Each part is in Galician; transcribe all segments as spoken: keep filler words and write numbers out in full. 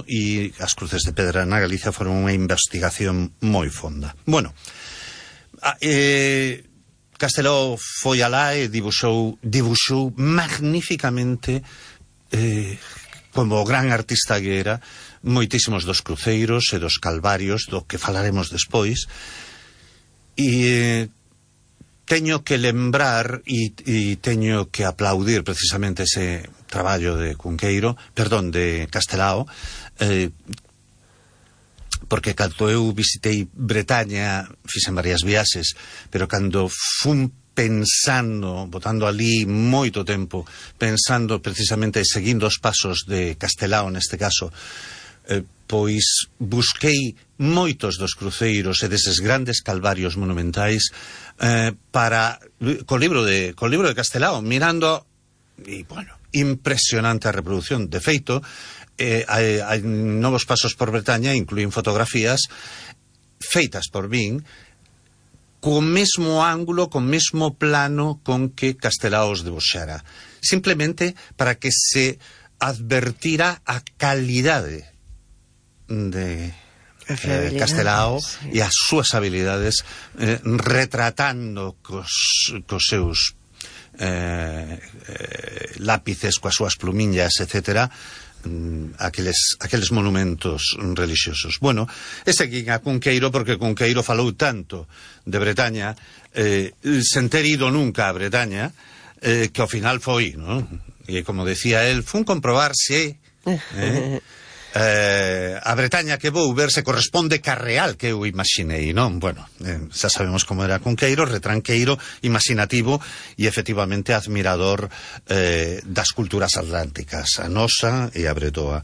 e as cruces de pedra na Galicia foron unha investigación moi fonda. Bueno, eh, Castelao foi alá e dibuxou, dibuxou magníficamente, eh, como gran artista que era, moitísimos dos cruceiros e dos calvarios, do que falaremos despois, e teño que lembrar e, e teño que aplaudir precisamente ese traballo de Cunqueiro, perdón, de Castelao, eh, porque cando eu visitei Bretaña, fixen varias viaxes, pero cando fun pensando, botando ali moito tempo, pensando precisamente, seguindo os pasos de Castelao neste caso, eh, pois busquei moitos dos cruceiros e deses grandes calvarios monumentais eh, para co libro de co libro de Castelao, mirando, e bueno, impresionante a reproducción. De feito, eh, hai, hai novos pasos por Bretaña, incluín fotografías feitas por min co mesmo ángulo, co mesmo plano con que Castelao os debuxara, simplemente para que se advertira a calidade de eh, Castelao, sí, e as súas habilidades eh, retratando cos, cos seus eh, eh, lápices, coas súas plumiñas, etcétera, aqueles, aqueles monumentos religiosos. Bueno, e seguín a Cunqueiro, porque Cunqueiro falou tanto de Bretaña, eh, sen ter ido nunca a Bretaña, eh, que ao final foi, ¿no? E como decía él, fun comprobar se eh, eh, a Bretaña que vou ver se corresponde ca real que eu imaginei, non? Bueno, eh, xa sabemos como era Cunqueiro, retranqueiro, imaginativo e efectivamente admirador eh, das culturas atlánticas, a nosa e a bretoa.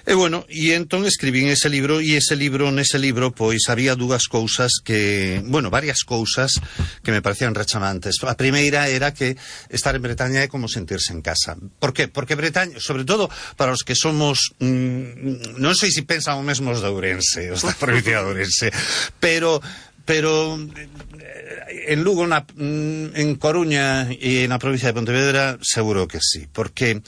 E bueno, e entón escribín ese libro, e ese libro, nese libro, pois había dúas cousas que, bueno, varias cousas que me parecían rechamantes. A primeira era que estar en Bretaña é como sentirse en casa. Por qué? Porque Bretaña, sobre todo para os que somos, mmm, non sei se pensan o mesmo os de Ourense, os da provincia de Ourense, pero pero en Lugo, na, en Coruña e na provincia de Pontevedra, seguro que sí, porque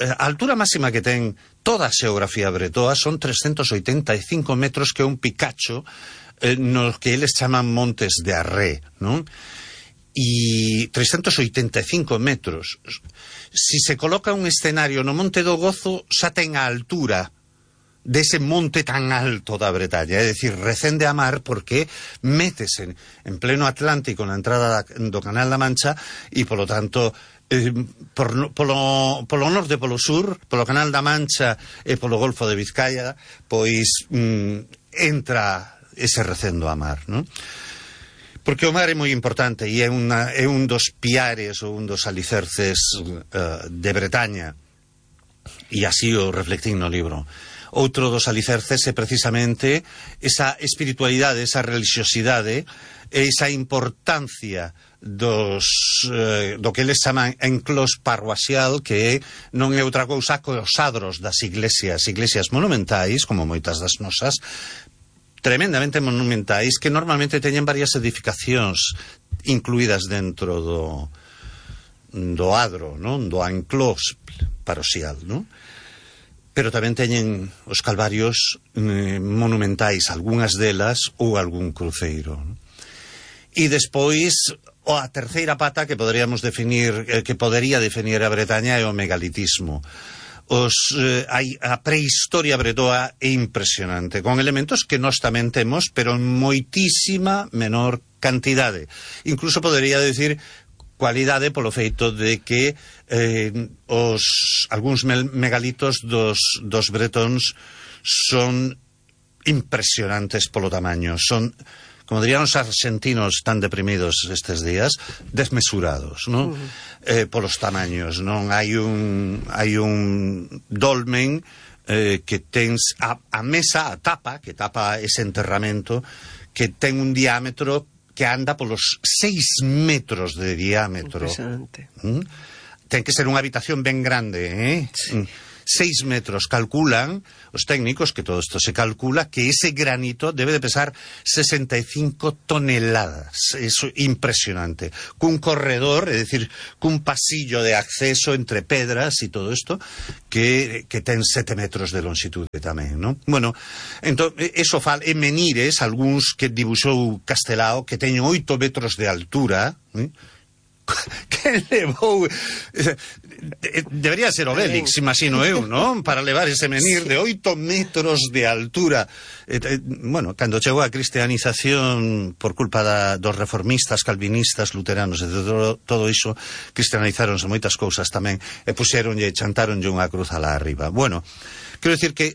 a altura máxima que ten toda a xeografía bretoa son trescentos oitenta e cinco metros, que é un picacho eh, no que eles chaman Montes de Arré, non? E trescentos oitenta e cinco metros. Si se coloca un escenario no Monte do Gozo, xa ten a altura dese monte tan alto da Bretaña, é dicir, recende a mar, porque métese en pleno Atlántico na entrada do Canal da Mancha, e polo tanto Eh, por, polo, polo norte e polo sur, polo Canal da Mancha e polo Golfo de Vizcaya, pois mm, entra ese recendo a mar, non? Porque o mar é moi importante e é, una, é un dos piares ou un dos alicerces uh, de Bretaña, e así o reflectín no libro. Outro dos alicerces é precisamente esa espiritualidade, esa religiosidade, esa importancia dos eh, do que eles chaman enclós parroaxial, que non é outra cousa que os adros das iglesias, iglesias monumentais, como moitas das nosas, tremendamente monumentais, que normalmente teñen varias edificacións incluídas dentro do do adro, non? Do enclós parroaxial, non? Pero tamén teñen os calvarios eh, monumentais, algunhas delas, ou algún cruceiro, non? E despois, a terceira pata que poderíamos definir, eh, que podería definir a Bretaña, é o megalitismo. Os, eh, hai, a prehistoria bretoa é impresionante, con elementos que nós tamén temos, pero en moitísima menor cantidade. Incluso podería decir cualidade polo feito de que eh, os algúns megalitos dos, dos bretóns son impresionantes polo tamaño, son, como dirían os argentinos tan deprimidos estes días, desmesurados, non? Uh-huh. Eh, polos tamaños, non? Hai un hai un dolmen eh, que tens a, a mesa, a tapa, que tapa ese enterramento, que ten un diámetro que anda polos seis metros de diámetro. Impresionante. ¿Mm? Ten que ser unha habitación ben grande, eh? Sí. seis metros. Calculan os técnicos, que todo isto se calcula, que ese granito debe de pesar sesenta y cinco toneladas. Eso impresionante. Cun corredor, é dicir, cun pasillo de acceso entre pedras e todo isto, que, que ten sete metros de longitude tamén, non? Bueno, entón, eso fal, en Menires, algúns que dibuxou Castelao, que teñen oito metros de altura, ¿eh? Que levou... Debería ser Obélix, imagino eu, non? Para levar ese menir de oito metros de altura. Bueno, cando chegou a cristianización por culpa da, dos reformistas, calvinistas, luteranos, e todo, todo iso, cristianizáronse moitas cousas tamén, e puxeronlle, chantaronlle unha cruz alá arriba. Bueno, quero decir que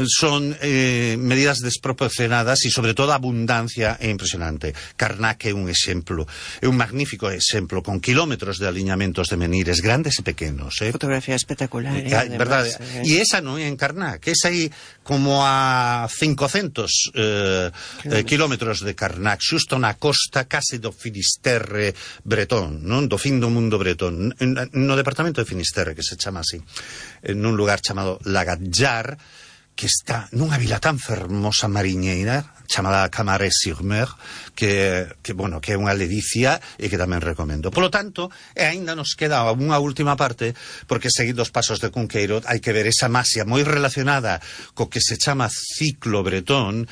son eh, medidas desproporcionadas e, sobre todo, a abundancia é impresionante. Karnak é un exemplo, é un magnífico exemplo, con kilómetros de aliñamentos de menires, grandes e pequenos. Eh? Fotografía espectacular. Eh, eh, verdade. Eh. E esa non é en Karnak, esa aí como a cincocentos eh, eh, kilómetros de Karnak, xusto na costa case do Finisterre bretón, non? Do fin do mundo bretón, no departamento de Finisterre, que se chama así, en un lugar chamado Lagatjar, que está nunha vila tan fermosa mariñeira chamada Camaret-sur-Mer, que, que, bueno, que é unha ledicia e que tamén recomendo. Polo tanto, e aínda nos queda unha última parte, porque seguindo os pasos de Cunqueiro hai que ver esa masia moi relacionada co que se chama ciclo bretón,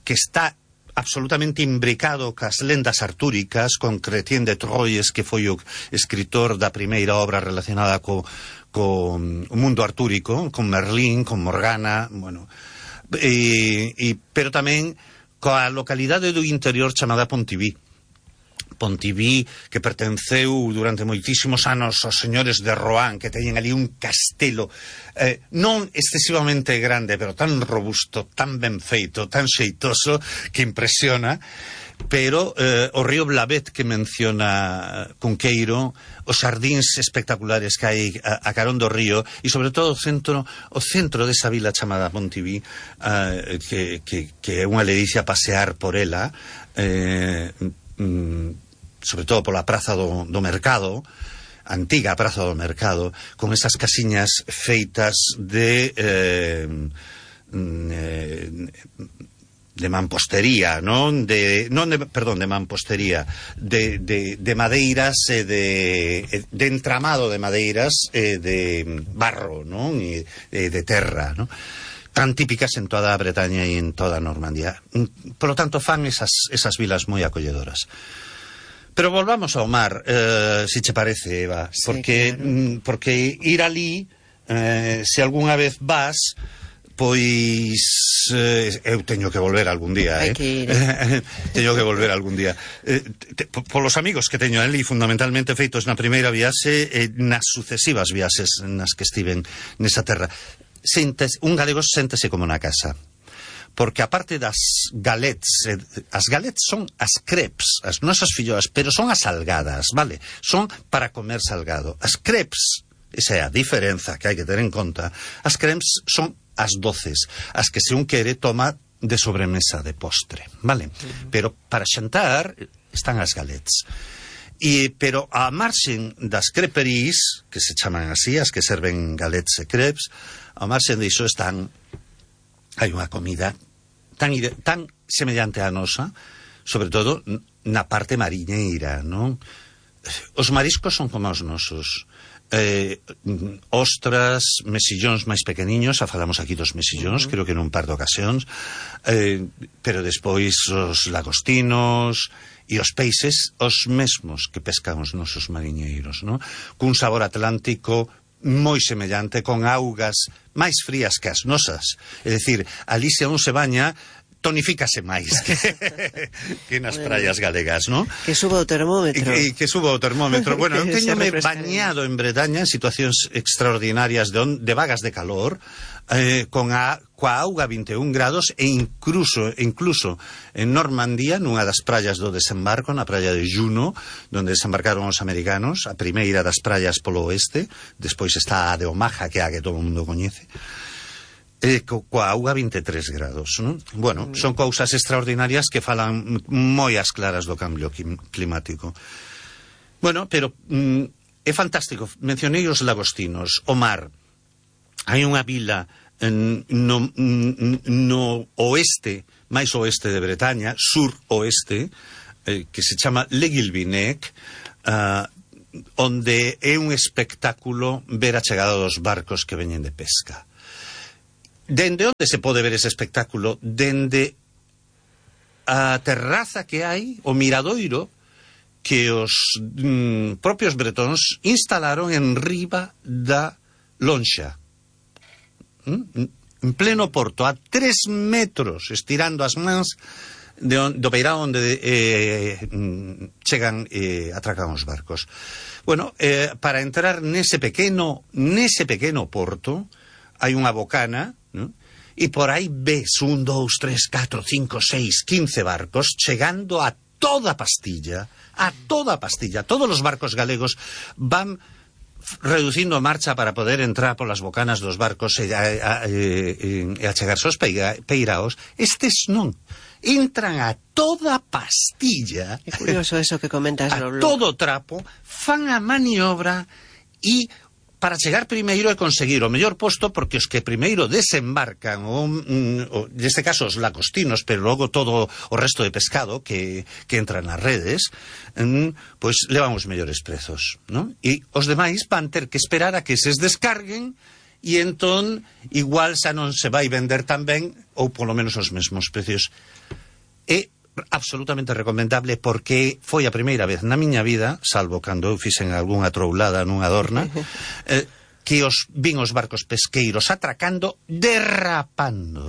que está absolutamente imbricado cas lendas artúricas, con Chrétien de Troyes, que foi o escritor da primeira obra relacionada co con o mundo artúrico, con Merlín, con Morgana, bueno, e, e, pero tamén coa localidade do interior chamada Pontiví. Pontiví, que pertenceu durante moitísimos anos aos señores de Rohan, que teñen ali un castelo eh, non excesivamente grande, pero tan robusto, tan ben feito, tan xeitoso, que impresiona. Pero eh, o río Blavet que menciona Cunqueiro, os xardíns espectaculares que hai a, a carón do río, e sobre todo o centro o centro desa vila chamada Pontiví, eh, que, que, que é unha ledicia pasear por ela, eh, mm, sobre todo pola praza do, do mercado, antiga praza do mercado, con esas casiñas feitas de eh, eh, de mampostería, non de non de, perdón, de mampostería, de, de, de madeiras e de, de entramado de madeiras e de barro, non? E de, de terra, non? Tan típicas en toda a Bretaña e en toda a Normandía. Por lo tanto, fan esas, esas vilas moi acolledoras. Pero volvamos ao mar, eh, si che parece, Eva, sí, porque, claro. porque ir ali, eh, se algunha vez vas, pois eh, eu teño que volver algún día, eh? teño que volver algún día. Eh, te, polos amigos que teño ali, fundamentalmente feitos na primeira viaxe e nas sucesivas viaxes nas que estiven nesa terra. Sentes, un galego séntese como na casa. Porque aparte das galets, eh, as galets son as crepes, as nosas filloas, pero son as salgadas, vale? Son para comer salgado. As crepes, esa é a diferenza que hai que ter en conta, as crepes son as doces, as que se un quere toma de sobremesa, de postre, vale? Uh-huh. Pero para xantar están as galets. E, pero a marxen das creperies, que se chaman así, as que serven galets e crepes, a marxen diso están, hai unha comida tan, tan semellante á nosa, sobre todo na parte mariñeira, non? Os mariscos son como os nosos. Eh, ostras, mesillóns máis pequeniños, xa falamos aquí dos mesillóns, uh-huh. creo que nun par de ocasións, eh, pero despois os lagostinos e os peixes, os mesmos que pescan os nosos mariñeiros, non? Cun sabor atlántico moi semellante, con augas máis frías que as nosas. É dicir, ali se un se baña, tonifícase máis que, que nas praias galegas, non? Que suba o termómetro. Que, que suba o termómetro. Bueno, eu teñome bañado en Bretaña en situacións extraordinarias de, on, de vagas de calor, eh, con a, coa auga vinte e un grados, e incluso, incluso en Normandía, nunha das praias do desembarco, na praia de Juno, donde desembarcaron os americanos, a primeira das praias polo oeste, despois está a de Omaha, que é a que todo o mundo coñece, Eh, co, coa auga vinte e tres grados, non? Bueno, son cousas extraordinarias que falan moi as claras do cambio climático. Bueno, pero mm, é fantástico. Mencionei os lagostinos, o mar. hai unha vila no, no oeste, máis oeste de Bretaña, sur-oeste, eh, que se chama Le Guilvinec, uh, onde é un espectáculo ver a chegada dos barcos que veñen de pesca. Dende onde se pode ver ese espectáculo? Dende a terraza que hai, o miradoiro, que os mm, propios bretóns instalaron en riba da lonxa. Mm? En pleno porto, a tres metros, estirando as mans de on, do beirao onde eh, chegan e eh, atracan os barcos. Bueno, eh, para entrar nese pequeno nese pequeno porto hai unha bocana, ¿no? E por aí ves un, dous, tres, catro, cinco, seis, quince barcos chegando a toda pastilla, a toda pastilla. Todos os barcos galegos van reducindo a marcha para poder entrar polas bocanas dos barcos e, a, a, e, e achegarse aos peiraos. Estes non. Entran a toda pastilla. É curioso eso que comentas, a Lolo. todo trapo, fan a maniobra e para chegar primeiro e conseguir o mellor posto, porque os que primeiro desembarcan, o, o, neste caso os lagostinos, pero logo todo o resto de pescado que, que entra nas redes, mm, pois levan os mellores prezos, non? E os demais van ter que esperar a que se descarguen e entón igual xa non se vai vender tan ben, ou polo menos os mesmos precios. É absolutamente recomendable porque foi a primeira vez na miña vida, salvo cando eu fixen algunha troulada nunha dorna, eh, que os vin os barcos pesqueiros atracando derrapando,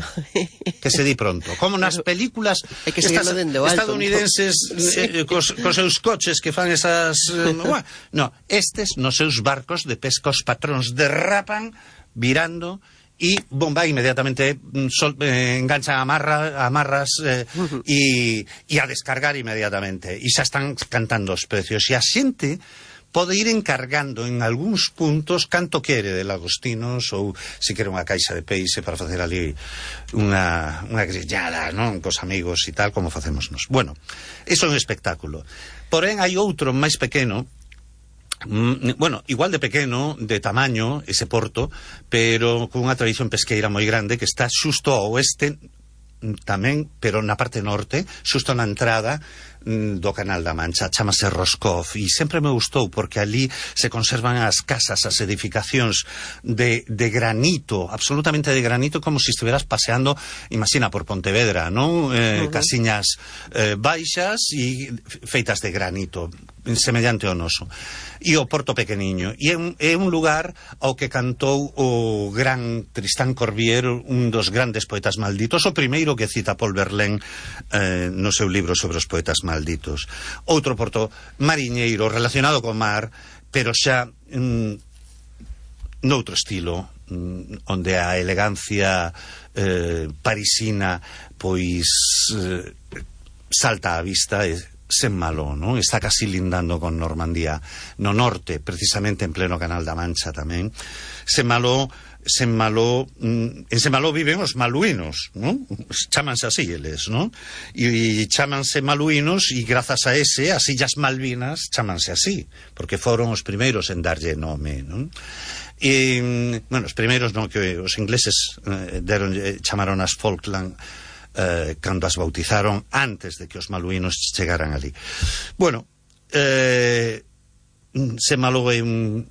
que se di pronto, como nas películas que estas, alto, estadounidenses, ¿no? eh, cos, cos seus coches que fan esas eh, bueno, no, estes nos seus barcos de pesca os patróns derrapan virando e bomba inmediatamente sol, eh, enganchan amarra, amarras e uh-huh. e a descargar inmediatamente e xa están cantando os precios e a xente pode ir encargando en algúns puntos canto quere de lagostinos ou se quere unha caixa de peixe para facer ali unha, unha grillada, non? Cos amigos e tal, como facemos nos. Bueno, iso é un espectáculo. Porén, hai outro máis pequeno, mm, bueno, igual de pequeno, de tamaño, ese porto, pero con unha tradición pesqueira moi grande que está xusto ao oeste tamén, pero na parte norte, xusto na entrada do Canal da Mancha, chamase Roscoff, e sempre me gustou porque ali se conservan as casas, as edificacións de, de granito, absolutamente de granito, como se estiveras paseando, imagina, por Pontevedra, non? Eh, uh-huh. Casiñas eh, baixas e feitas de granito, semellante ao noso. E o Porto pequeniño. E é un, é un lugar ao que cantou o gran Tristán Corbier, un dos grandes poetas malditos, o primeiro que cita Paul Verlaine eh, no seu libro sobre os poetas malditos. malditos. Outro porto mariñeiro relacionado co mar, pero xa mm, noutro estilo, mm, onde a elegancia eh, parisina pois eh, salta á vista e Saint-Malo, non? Está casi lindando con Normandía no norte, precisamente en pleno Canal da Mancha tamén. Saint-Malo Saint-Malo, en Saint-Malo viven os maluínos, non? Chámanse así eles, non? E chámanse maluínos e grazas a ese, as Illas Malvinas chámanse así, porque foron os primeiros en darlle nome, non? E, bueno, os primeiros non, que os ingleses eh, deron, eh, chamaron as Falkland eh, cando as bautizaron antes de que os maluínos chegaran ali. Bueno, eh, Saint-Malo é un...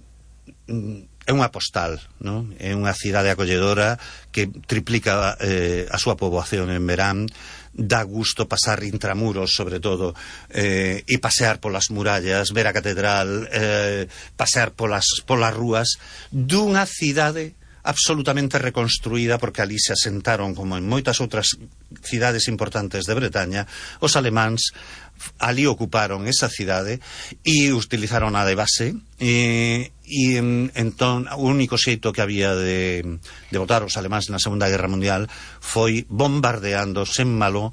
un é unha postal, non? É unha cidade acolledora que triplica eh, a súa poboación en verán, dá gusto pasar intramuros, sobre todo, eh, e pasear polas murallas, ver a catedral, eh, pasear polas, polas rúas dunha cidade absolutamente reconstruída, porque ali se asentaron, como en moitas outras cidades importantes de Bretaña, os alemáns ali ocuparon esa cidade e utilizaron a de base e, e entón o único xeito que había de, de botar os alemáns na Segunda Guerra Mundial foi bombardeando Saint-Malo,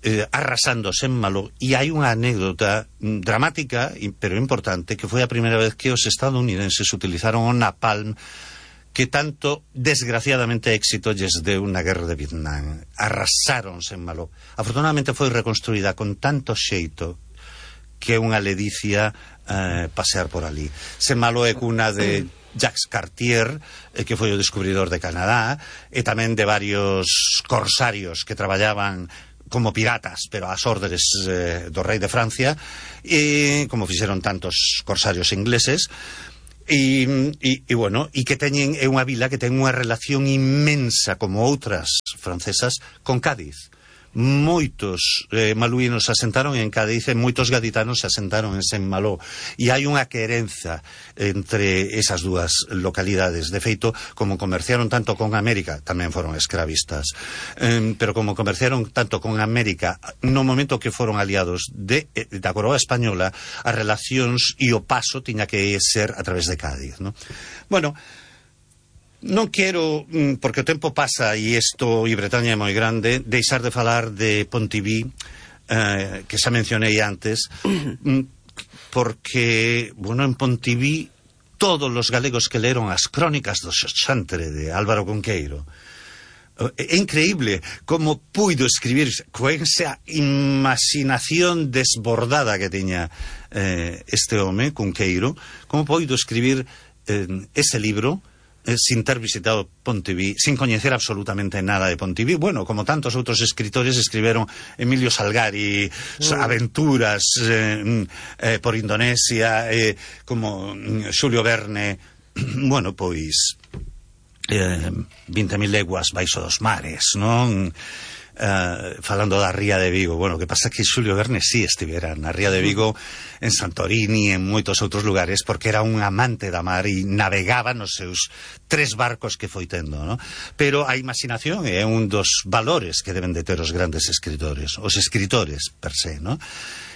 eh, arrasando Saint-Malo, e hai unha anécdota dramática pero importante, que foi a primeira vez que os estadounidenses utilizaron o napalm, que tanto, desgraciadamente, éxito lles deu na guerra de Vietnam. Arrasaron Saint-Malo. Afortunadamente foi reconstruída con tanto xeito que é unha ledicia eh, pasear por ali. Saint-Malo é cuna de Jacques Cartier, eh, que foi o descubridor de Canadá, e tamén de varios corsarios que traballaban como piratas, pero ás órdenes eh, do rei de Francia, e como fixeron tantos corsarios ingleses. E, e, e bueno, e que teñen, é unha vila que ten unha relación inmensa, como outras francesas, con Cádiz. Moitos eh, maluínos se asentaron en Cádiz e moitos gaditanos se asentaron en Saint-Malo, e hai unha querenza entre esas dúas localidades. De feito, como comerciaron tanto con América, tamén foron escravistas, eh, pero como comerciaron tanto con América, no momento que foron aliados de, da coroa española, as relacións e o paso tiña que ser a través de Cádiz, ¿no? Bueno, non quero, porque o tempo pasa e isto e Bretaña é moi grande, deixar de falar de Pontivy, eh, que xa mencionei antes, porque, bueno, en Pontivy todos os galegos que leron as crónicas do Xoxantre de Álvaro Cunqueiro, é increíble como puido escribir con esa imaginación desbordada que tiña eh, este home, Cunqueiro, como puido escribir eh, ese libro Eh, sin ter visitado Pontivy, sin coñecer absolutamente nada de Pontivy. Bueno, como tantos outros escritores escriberon Emilio Salgari, mm. aventuras eh, eh, por Indonesia, eh, como Xulio Verne, bueno, pois eh, vinte mil leguas baixo dos mares, non? Uh, falando da Ría de Vigo. Bueno, que pasa que Xulio Verne sí estivera na Ría de Vigo, en Santorini, en moitos outros lugares, porque era un amante da mar e navegaba nos seus tres barcos que foi tendo, ¿no? Pero a imaginación é un dos valores que deben de ter os grandes escritores, os escritores per se, ¿no?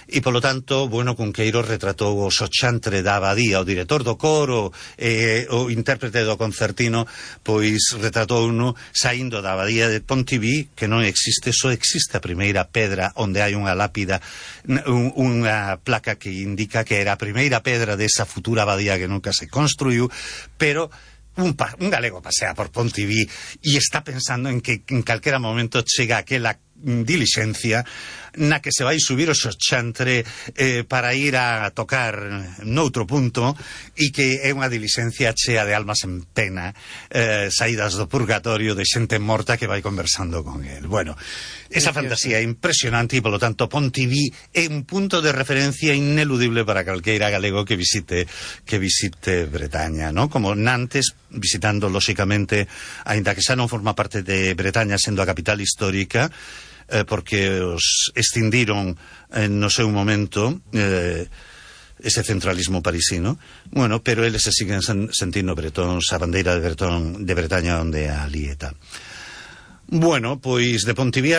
E, polo tanto, bueno, Cunqueiro retratou o Xoxantre da Abadía, o director do coro, eh, o intérprete do concertino, pois retratou uno saindo da Abadía de Pontivy, que non existe, só existe a primeira pedra onde hai unha lápida, un, unha placa que indica que era a primeira pedra desa futura abadía que nunca se construiu, pero un, pa, un galego pasea por Pontivy e está pensando en que en calquera momento chega aquela dilixencia na que se vai subir o Xoxantre eh, para ir a tocar noutro punto, e que é unha dilixencia chea de almas en pena, eh, saídas do purgatorio, de xente morta que vai conversando con el. Bueno, esa fantasía é impresionante, e polo tanto Pontivy é un punto de referencia ineludible para calqueira galego que visite que visite Bretaña, ¿no? Como Nantes, visitando lóxicamente, aínda que xa non forma parte de Bretaña, sendo a capital histórica, Eh, porque os extindiron eh, no seu momento eh, ese centralismo parisino. Bueno, pero eles se siguen sen, sentindo bretóns, a bandeira de, Bretón, de Bretaña onde a lieta. Bueno, pois de Pontivy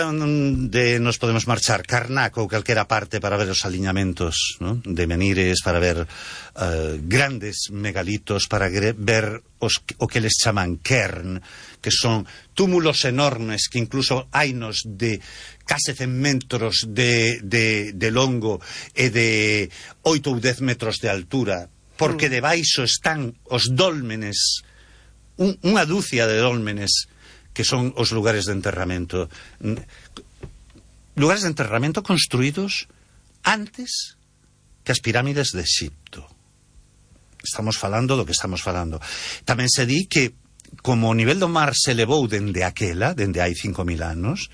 de nos podemos marchar Carnac ou calquera parte para ver os aliñamentos, ¿no? De menires, para ver uh, grandes megalitos, para ver os, o que les chaman cairn, que son túmulos enormes que incluso hainos de case cen metros de, de, de longo e de oito ou dez metros de altura, porque debaixo están os dólmenes, un, unha dúcia de dólmenes que son os lugares de enterramento. Lugares de enterramento construídos antes que as pirámides de Egipto. Estamos falando do que estamos falando. Tamén se di que, como o nivel do mar se elevou dende aquela, dende hai cinco mil anos,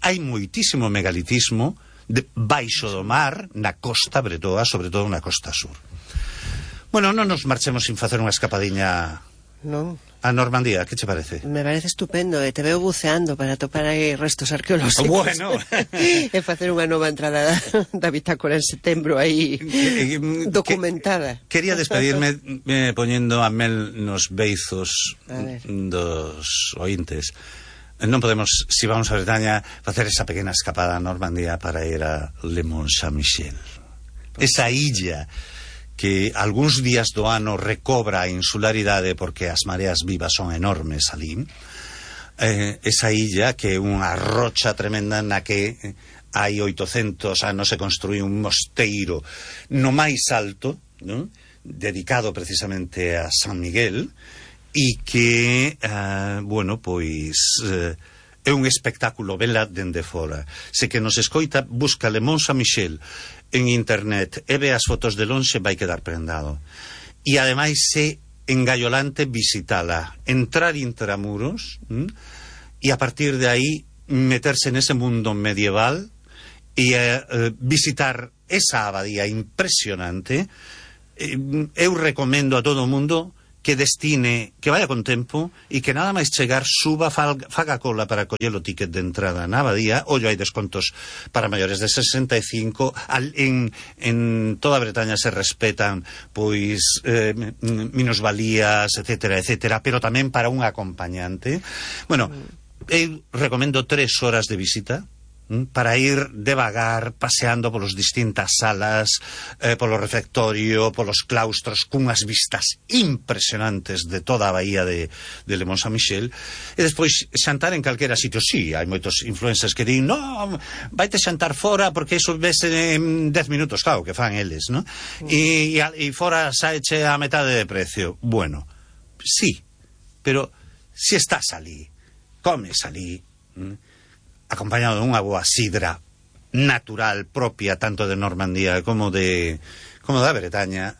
hai moitísimo megalitismo de, baixo do mar, na costa bretoa, sobre todo na costa sur. Bueno, non nos marchemos sin facer unha escapadiña... Non. A Normandía, que che parece? Me parece estupendo, e te veo buceando para topar aí restos arqueolóxicos. Bueno. E facer unha nova entrada da, da bitácora en setembro aí documentada. Que, quería despedirme eh, poñendo a mel nos beizos dos ointes. Non podemos, si vamos a Bretaña, facer esa pequena escapada a Normandía para ir a Le Mont Saint-Michel. Esa illa que algúns días do ano recobra a insularidade porque as mareas vivas son enormes ali. Eh, esa illa que é unha rocha tremenda na que hai oitocentos anos se construí un mosteiro no máis alto, ¿no? Dedicado precisamente a San Miguel, e que, eh, bueno, pois... Eh, é un espectáculo vela dende fora. Se que nos escoita, busca Le Mont Saint-Michel en internet e ve as fotos de lonxe, vai quedar prendado. E ademais é engallolante visitala, entrar intramuros y a partir de ahí meterse en ese mundo medieval y eh, eh, visitar esa abadía impresionante. Eh, eu recomendo a todo o mundo que destine, que vaya con tempo e que nada máis chegar suba, faga cola para coller o ticket de entrada na abadía. Ollo, hai descontos para maiores de sesenta e cinco. Al, en, en toda Bretaña se respetan pois eh, minusvalías, etcétera, etcétera, pero tamén para un acompañante. Bueno, eu recomendo tres horas de visita para ir devagar, paseando polas distintas salas, eh, polo refectorio, polos claustros, cunhas vistas impresionantes de toda a bahía de, de Le Mont-Saint-Michel, e despois xantar en calquera sitio. Sí, hai moitos influencers que din, no, vaite xantar fora porque iso vese en dez minutos, claro, que fan eles, ¿no? E, e fora saeche a metade de precio. Bueno, sí, pero si estás ali, comes ali, ¿m? acompañado de unha boa sidra natural propia tanto de Normandía como de como da Bretaña,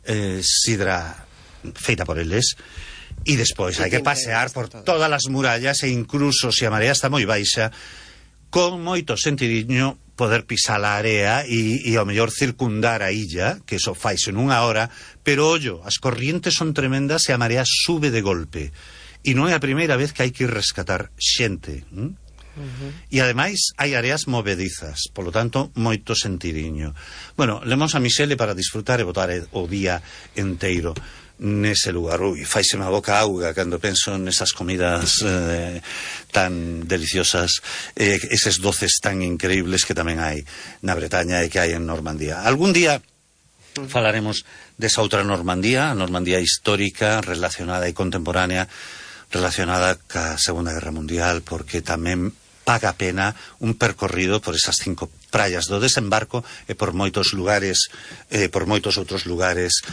eh, sidra feita por eles, e despois hai que pasear por todas as murallas e incluso se a marea está moi baixa, con moito sentidiño poder pisar a area e, e ao mellor circundar a illa, que eso faise nunha hora, pero ollo, as corrientes son tremendas e a marea sube de golpe e non é a primeira vez que hai que ir rescatar xente, ¿m? Uh-huh. E ademais hai áreas movedizas, polo tanto moito sentidiño. Bueno, Le Mont-Saint-Michel é para disfrutar e botar o día enteiro nese lugar. Ui, faiseme a boca auga cando penso nesas comidas eh, tan deliciosas, eh, eses doces tan increíbles que tamén hai na Bretaña e que hai en Normandía. Algún día falaremos desa outra Normandía, a Normandía histórica, relacionada e contemporánea, relacionada ca Segunda Guerra Mundial, porque tamén paga pena un percorrido por esas cinco praias do desembarco e por moitos lugares, eh, por moitos outros lugares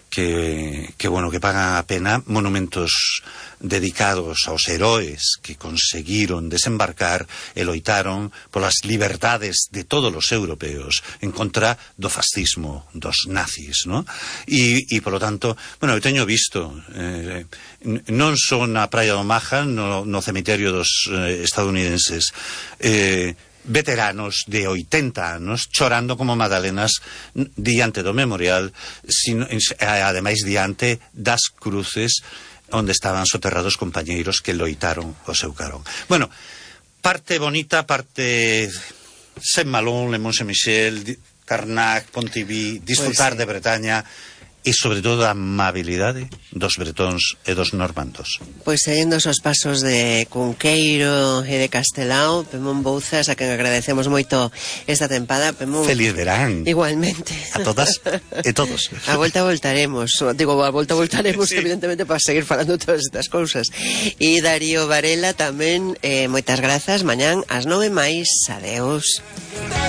que, que, bueno, que pagan a pena, monumentos dedicados aos heróis que conseguiron desembarcar e loitaron polas liberdades de todos os europeos en contra do fascismo, dos nazis, ¿no? E, e polo tanto, bueno, eu teño visto eh, non só na praia do Maja, no, no cemiterio dos eh, estadounidenses, eh, veteranos de oitenta anos chorando como magdalenas diante do memorial, sino, ademais diante das cruces onde estaban soterrados compañeiros que loitaron o seu carón. Bueno, parte bonita, parte Saint-Malo, Le Mont-Saint-Michel, Carnac, Pontivy, disfrutar pues sí. de Bretaña e sobre todo a amabilidade dos bretóns e dos normandos. Pois seguindo os pasos de Cunqueiro e de Castelao, Pemón Bouzas, a quen agradecemos moito esta tempada. Pemón, feliz verán. Igualmente. A todas e todos. A volta voltaremos, digo, a volta voltaremos sí. evidentemente para seguir falando todas estas cousas. E Darío Varela tamén, eh, moitas grazas, mañán ás nove máis, adeus.